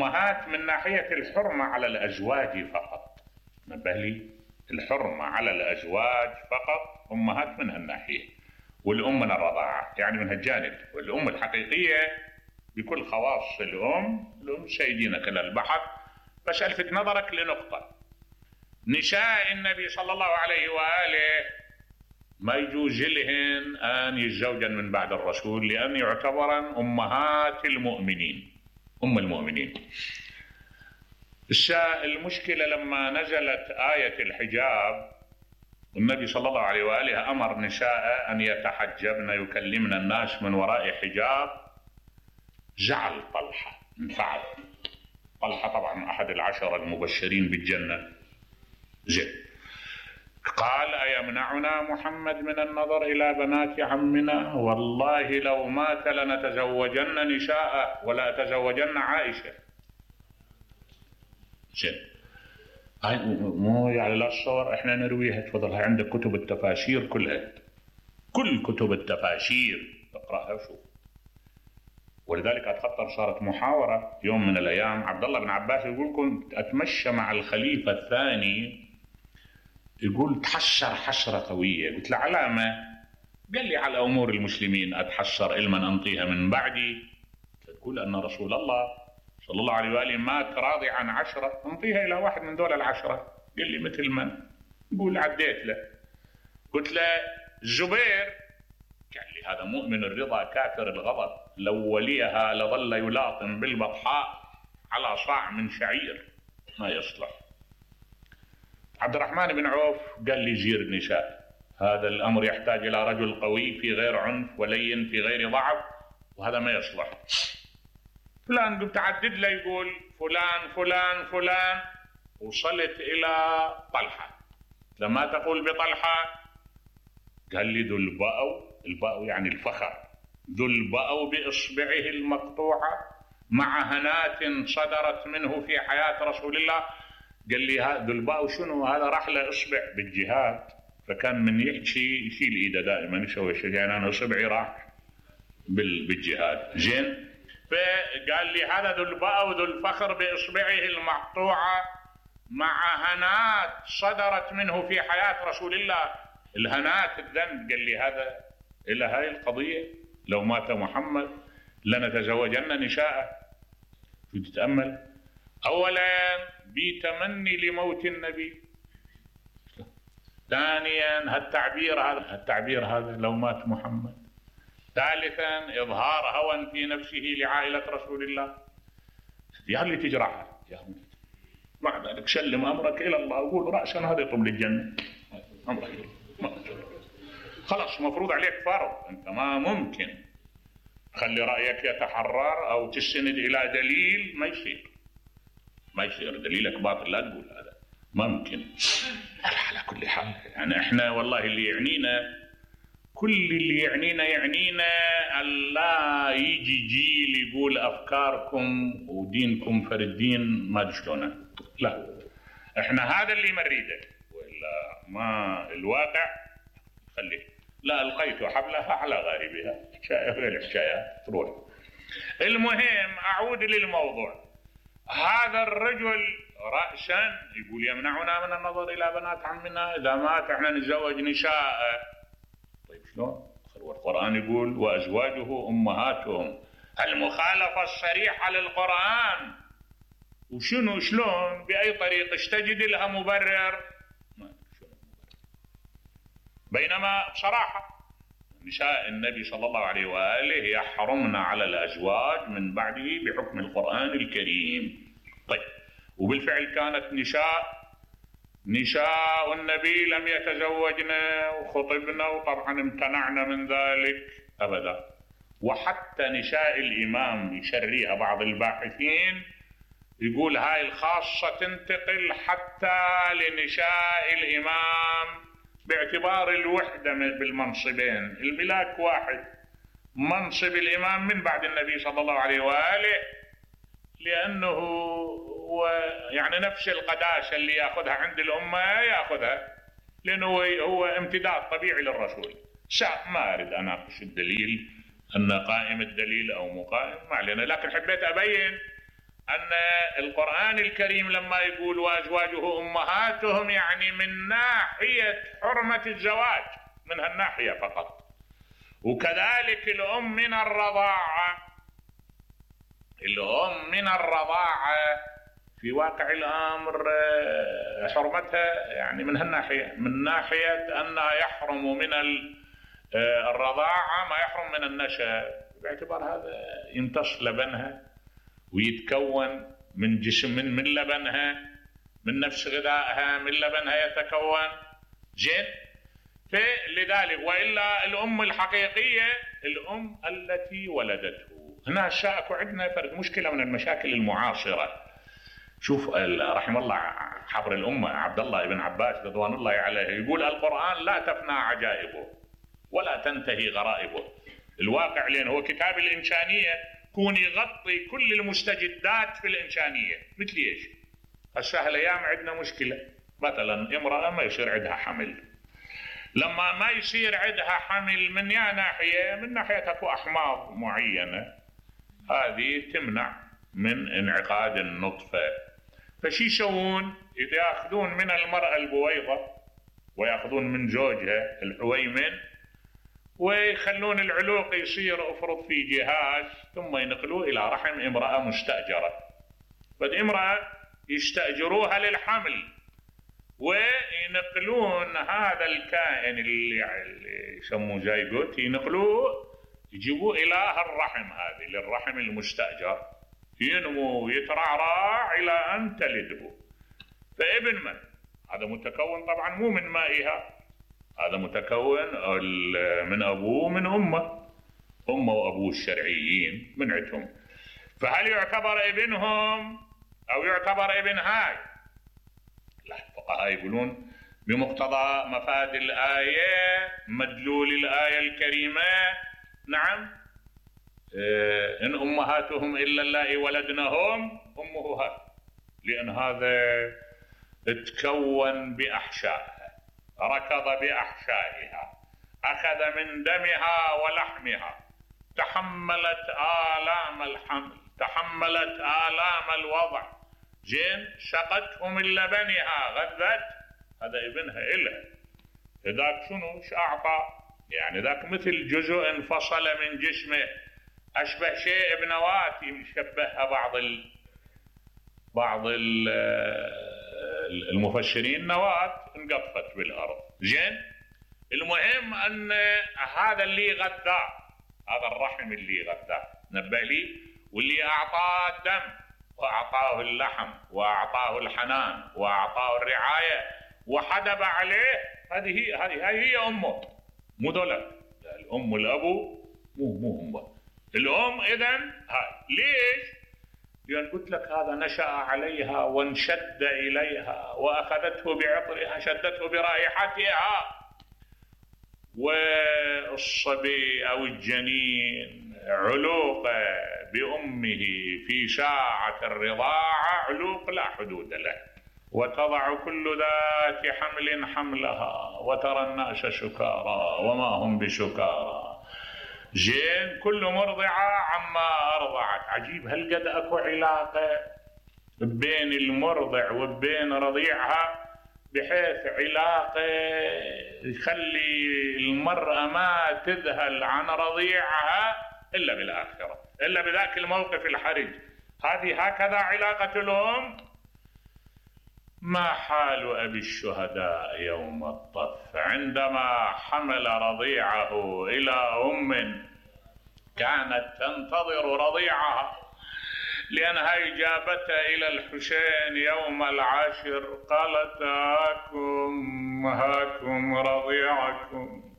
أمهات من ناحية الحرمة على الأزواج فقط، نبه لي، الحرمة على الأزواج فقط أمهات من هالناحية، والأم من الرضاعة يعني من هالجانب، والأم الحقيقية بكل خواص الأم سيدينك للبحث. بس ألفت نظرك لنقطة، نساء النبي صلى الله عليه وآله ما يجوز لهن أن يتزوجن من بعد الرسول، لأن يعتبرن أمهات المؤمنين، أم المؤمنين. المشكلة لما نزلت آية الحجاب والنبي صلى الله عليه وآله أمر نساء أن يتحجبن يكلمن الناس من وراء حجاب، زعل طلحة، انفعل طلحة، طبعا أحد العشرة المبشرين بالجنة، زين، قال أيمنعنا محمد من النظر إلى بنات عمنا؟ والله لو مات لنتزوجن نساء ولا تزوجن عائشة. زين، هاي مو يعني لا الصور احنا نرويها، تفضل، هاي عندك كتب التفاسير كلها، كل كتب التفاسير تقرأها وشوف. ولذلك أتخطر صارت محاورة يوم من الأيام، عبد الله بن عباس يقول كنت أتمشى مع الخليفة الثاني، يقول تحسر حسرة قوية، قلت له علامة؟ قال لي على أمور المسلمين أتحسر علما أنطيها من بعدي. تقول أن رسول الله صلى الله عليه وآله مات راضي عن 10 أنطيها إلى واحد من دول 10. قال لي مثل من؟ يقول عديت له، قلت له الزبير، قال لي هذا مؤمن الرضا كافر الغضب، لو وليها لظل يلاطم بالبطحاء على صاع من شعير، ما يصلح. عبد الرحمن بن عوف قال لي زير النساء، هذا الأمر يحتاج إلى رجل قوي في غير عنف ولين في غير ضعف، وهذا ما يصلح. فلان قمت أعدد له، يقول فلان فلان فلان، وصلت إلى طلحة. لما تقول بطلحة؟ قال لي ذو البأو، البأو يعني الفخر، ذو البأو بإصبعه المقطوعة مع هنات صدرت منه في حياة رسول الله. قال لي ذو البأو شنو؟ هذا راح له إصبع بالجهاد، فكان من يحكي يشيل إيده دائما، يسوي شيء، يعني أنا إصبعي راح بالجهاد. زين، فقال لي هذا ذو البأو ذو الفخر بإصبعه المقطوعة مع هنات صدرت منه في حياة رسول الله. الهنات الذنب، قال لي هذا إلى هاي القضية لو مات محمد لنتزوجن نساء. تتأمل، أولا بتمني لموت النبي، ثانيا التعبير هذا لو مات محمد، ثالثا إظهار هوى في نفسه لعائلة رسول الله. يا اللي تجرحها يا مع ذلك سلم أمرك إلى الله وقول رأسا هذا يطب للجنة، أمرك خلاص مفروض عليك فرض، أنت ما ممكن خلي رأيك يتحرر أو تستند إلى دليل، ما يصير دليلك باطل، لا تقول هذا ممكن. على كل حال يعني احنا والله اللي يعنينا، كل اللي يعنينا ألا يجي جيل يقول أفكاركم ودينكم فرد دين ما تشلونه، لا، احنا هذا اللي مريده، وإلا ما الواقع خليه. لا ألقيت حبلها على غاربها، حكاية غير حكاية تروح. المهم أعود للموضوع، هذا الرجل رأسا يقول يمنعنا من النظر إلى بنات عمنا، إذا مات احنا نتزوج نساء. طيب شلون؟ القرآن يقول وأزواجه أمهاتهم، المخالفة الصريحة للقرآن، وشنو شلون بأي طريقة تجد لها مبرر؟ بينما بصراحة نساء النبي صلى الله عليه وآله يحرمن على الأزواج من بعده بحكم القرآن الكريم. طيب، وبالفعل كانت نساء النبي لم يتزوجن وخطبن، وطبعا امتنعن من ذلك أبدا. وحتى نساء الإمام يشريها بعض الباحثين، يقول هاي الخاصة تنتقل حتى لنساء الإمام باعتبار الوحدة بالمنصبين، الملاك واحد، منصب الإمام من بعد النبي صلى الله عليه وآله، لأنه يعني نفس القداسة اللي يأخذها عند الأمة يأخذها، لأنه هو امتداد طبيعي للرسول. ما أريد أناقش الدليل أن قائم الدليل أو مقائم، ما علينا، لكن حبيت أبين أن القرآن الكريم لما يقول وأزواجه أمهاتهم يعني من ناحية حرمة الزواج، من هالناحية فقط. وكذلك الأم من الرضاعة، الأم من الرضاعة في واقع الأمر حرمتها يعني من هالناحية، من ناحية أنها يحرم من الرضاعة ما يحرم من النشأ، باعتبار هذا يمتص لبنها ويتكون من جسم من لبنها، من نفس غذائها من لبنها يتكون. زين، فلذلك وإلا الأم الحقيقية الأم التي ولدته. هنا اكو عندنا فرق مشكلة من المشاكل المعاصرة. شوف رحم الله حبر الأمة عبد الله بن عباس رضوان الله عليه يقول القرآن لا تفنى عجائبه ولا تنتهي غرائبه. الواقع لأن هو كتاب الإنسانية كون يغطي كل المستجدات في الإنسانية. مثل ايش؟ هسه هالايام عندنا مشكلة، مثلا امرأة ما يصير عندها حمل. لما ما يصير عندها حمل من ناحية، من ناحية اكو أحماض معينة هذه تمنع من انعقاد النطفة. فشي يسوون؟ ياخذون من المرأة البويضة وياخذون من زوجها الحويمن ويخلون العلوق يصير افرض في جهاز، ثم ينقلوه الى رحم امرأة مستأجرة. فالامرأة يستأجروها للحمل وينقلون هذا الكائن اللي يسموه زيجوت، ينقلوه يجيبوه الى الرحم هذه، للرحم المستأجر، ينمو ويترعرع الى ان تلده. فابن من؟ هذا متكون طبعا مو من مائها، هذا متكون من أبوه من أمه وأبوه الشرعيين من عندهم. فهل يعتبر ابنهم أو يعتبر ابن هاي؟ لا، الفقهاء يقولون بمقتضى مفاد الآية مدلول الآية الكريمة نعم، إن أمهاتهم إلا اللائي ولدنهم أمه هاي، لأن هذا تكون بأحشائها، ركض بأحشائها، أخذ من دمها ولحمها، تحملت آلام الحمل، تحملت آلام الوضع، زين، سقته من لبنها، غذت، هذا ابنها إله. ذاك شنو؟ ايش أعطى؟ يعني ذاك مثل جزء انفصل من جسمه، أشبه شيء بنواة يشبهها بعض المفسرين نواة انقطفت بالأرض. زين، المهم أن هذا اللي غذاه، هذا الرحم اللي غذاه نبه لي، واللي أعطاه الدم وأعطاه اللحم وأعطاه الحنان وأعطاه الرعاية وحدب عليه، هذه هي أمه، مو دولة الأم والأبو، مو أمه الأم. إذن هاي ليش؟ لأن قلت لك هذا نشأ عليها وانشد إليها وأخذته بعطرها، شدته برائحتها. والصبي أو الجنين علوق بأمه في ساعة الرضاعة علوق لا حدود له، وتضع كل ذات حمل حملها وترى الناس سكارى وما هم بسكارى. زين، كل مرضعة عما أرضعت. عجيب هالقد أكو علاقة بين المرضع وبين رضيعها، بحيث علاقة يخلي المرأة ما تذهل عن رضيعها إلا بالآخرة، إلا بذاك الموقف الحرج. هذه هكذا علاقة الأم. ما حال أبي الشهداء يوم الطف عندما حمل رضيعه إلى أم كانت تنتظر رضيعها، لأنها إجابتها إلى الحسين يوم العاشر قالت هاكم رضيعكم.